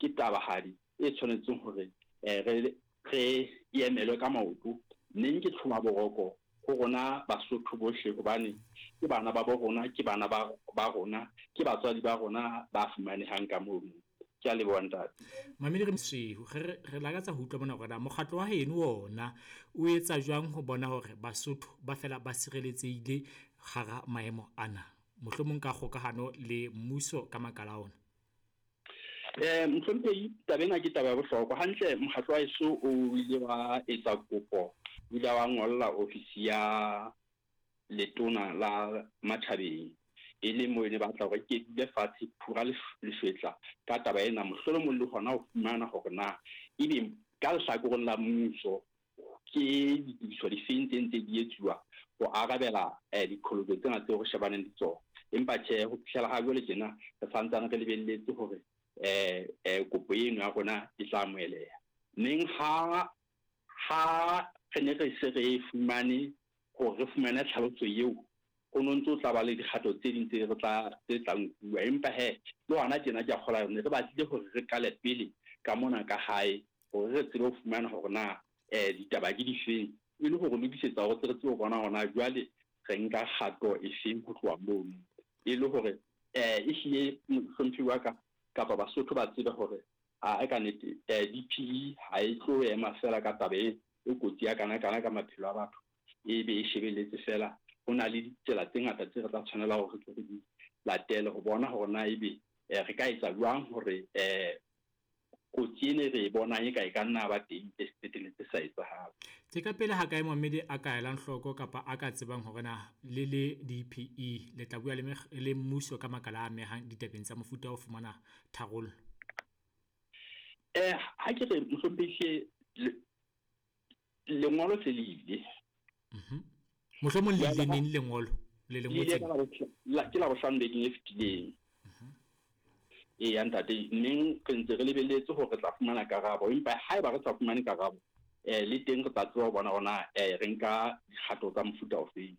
ke tabahadi e tshwanetseng hore re re e emelwe ka maoto. Neng ke tlhoma boroko ho rona Basotho bohle, hobane ke bana ba bo rona, ke bana ba ba rona, ke batswadi ba rona ba fumanehang ka mono. Ke a leboha, ntate. Mamedi re Mosweu, re re lakatsa ho utlwa mona hore na mokgatlo wa heno ona o etsa jwang ho bona hore Basotho ba fela ba sireletsehile hara maemo ana, mohlomong ka kgokahano le mmuso ka makala a ona. Mohlomphehi, taba ena ke taba ya bohlokwa. Hantle mokgatlo wa heso o ile wa etsa kopo, o ile wa ngolla ofisi ya letona la matjhabeng, e leng moo e ne batla hore ke dule fatshe phura leshwetla ka taba ena, mohlolomong le hona ho fumana hore na ebe ka lehlakoreng la mmuso ke ditokiso difeng tse ntse di etsuwa ho arabela diqholotso tsena tseo re shebaneng le tsona. Empa tjhe, ho fihlela ha jwale tjena re santsane re lebelletse hore kopo eno ya rona e tla amoheleha. Neng ha ha re ne re se re fumane hore re fumane tlhaloso eo, ho no ntso tla ba le dikgato tse ding tse re tla tse tla nkuwa. Empa he, le hona tjena ke a kgolwa ne re batlile hore re qale pele ka mona ka hae, hore re tsebe ho fumana hore na ditaba ke difeng, e le hore lokisetsa hore re tsebe ho bona hore na jwale re nka kgato e feng ho tloha mono, e le hore ehlile mohlomphehi wa ka kapa Basotho ba tsebe hore a ka nnete DPE ha e tlo ema fela ka taba e kotsi ya kana kana ka maphelo a batho, e be e shebelletse fela. Ho na le ditsela tse ngata tse re tla tshwanela hore re tle re di latele ho bona hore na ebe re ka etsa jwang hore kotsi ena e re e bonang e ka e ka nna ba teng e se qetelletse sa etsahala. Ke ka pele ha kae momamedi a ka elang hloko kapa a ka tsebang hore na le le DPE le tla bua le le mmuso ka makala a amehang ditabeng tsa mofuta wa ho fumana tharollo? Ha ke re mohlomphehi, lengolo se le ile. Mohlomong le ile neng lengolo le le ngotseng? Ke la bohlano bekeng e fetileng. Eya ntate, neng re ntse re lebelletse hore re tla fumana karabo, empa haeba re sa fumane karabo, le teng re tla tseba ho bona hore na re nka dikgato tsa mofuta ofeng.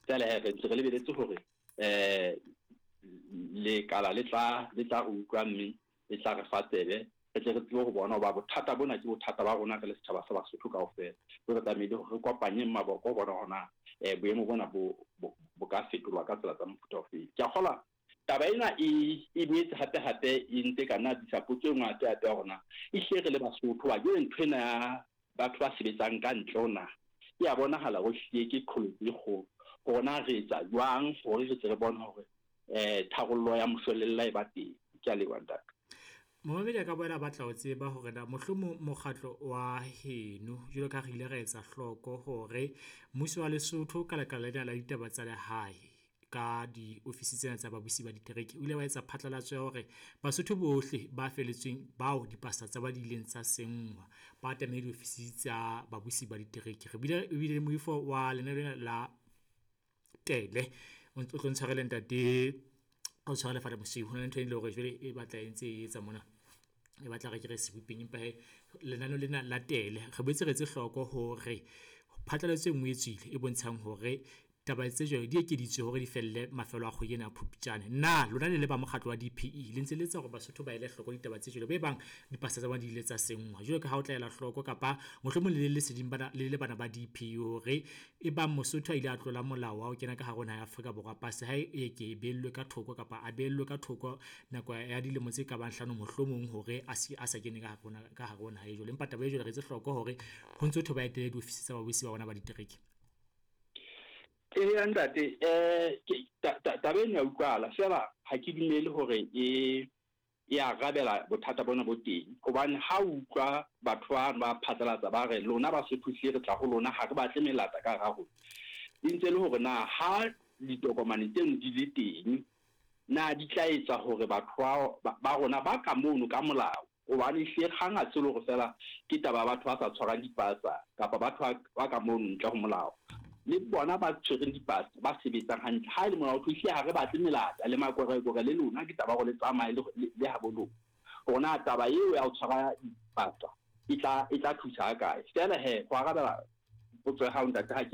Jwale he, re ntse re lebelletse hore lekala le tla re utlwa mme le tla re fa tsebe, re tle re tsebe ho bona hoba bothata bona ke bothata ba rona re le setjhaba sa Basotho kaofela. Re tlamehile hore re kopanyeng maboko ho bona hore na boemo bona bo ka fetolwa ka tsela tsa mofuta ofeng. Ke a kgolwa taba ena e boetse hape hape e ntse ka nna tlisa potso e nngwe hape hape ya hore na ehlile re le Basotho ba jwale ntho ena ya batho ba sebetsang ka ntle ho naha e a bonahala ho hlile ke qholotso e kgolo, hore na re etsa jwang hore re tle re bone hore tharollo ya moshwelella e ba teng. Ke a leboha, ntate. Momamedi a ka boela a batla ho tseba hore na mohlomong mokgatlo wa heno, jwalo ka ha re ile ra etsa hloko hore mmuso wa Lesotho ka lekala lena la ditaba tsa lehae ka diofisi tsena tsa babusi ba ditereke, o ile wa etsa phatlalatso ya hore Basotho bohle ba feletsweng bao dipasa tsa ba di ileng tsa senngwa ba atamele diofisi tsa babusi ba ditereke. Re bile ebile le moifo wa lenaneo lena la tele o tlo ntshwarele ntate, o tshwarele Fada Mosweu, ho na le ntho e leng hore jwale e batla e ntse e etsa mona, e batla re ke re sebopeng, empa he lenaneo lena la tele re boetse re etse hloko hore phatlalatso e nngwe e tswile e bontshang hore taba tse jwalo di ekeditswe hore di felle mafelo a kgwedi ena ya Phupjane. Na lona le le ba mokgatlo wa DPE le ntse le etsa hore Basotho ba ele hloko ditaba tse jwalo, be bang dipasa tsa bona di ile tsa senngwa jwalo ka ha o tla ela hloko, kapa mohlomong le le leseding bana le le bana ba DPE hore e bang Mosotho a ile a tlola molao wa ho kena ka hare ho naha ya Afrika Borwa, pasa hae e ke e behellwe ka thoko kapa a behellwe ka thoko nako ya dilemo tse ka bang hlano mohlomong hore a se a sa kene ka hare ho naha e jwalo. Empa taba e jwalo re etse hloko hore ho ntso thwe ba etele diofisi tsa babusi ba bona ba ditereke. Eya ntate, taba eno ya utlwahala fela ha ke dumele hore e arabela bothata bona bo teng, hobane ha o utlwa batho ba ba phatlalatsa ba re lona Basotho hlile re tla ho lona, ha re batle melata ka hara rona, e ntse le hore na ha ditokomane tseno di le teng na di tla etsa hore batho ba rona ba ka mono ka molao, hobane ehlile kgang ha se le hore fela ke taba ya batho ba sa tshwarang dipasa kapa batho ba ka mono ntle ho molao, le bona ba tshwereng dipasa ba sebetsang hantle. Ha e le molao ehlile ha re batle melata le makorekore le lona, ke taba hore le tsamaye le habo lona, hore na taba eo ya ho tshwara dipasa e tla thusa ha kae. Feela he, ho arabela potso ya hao ntate, ha ke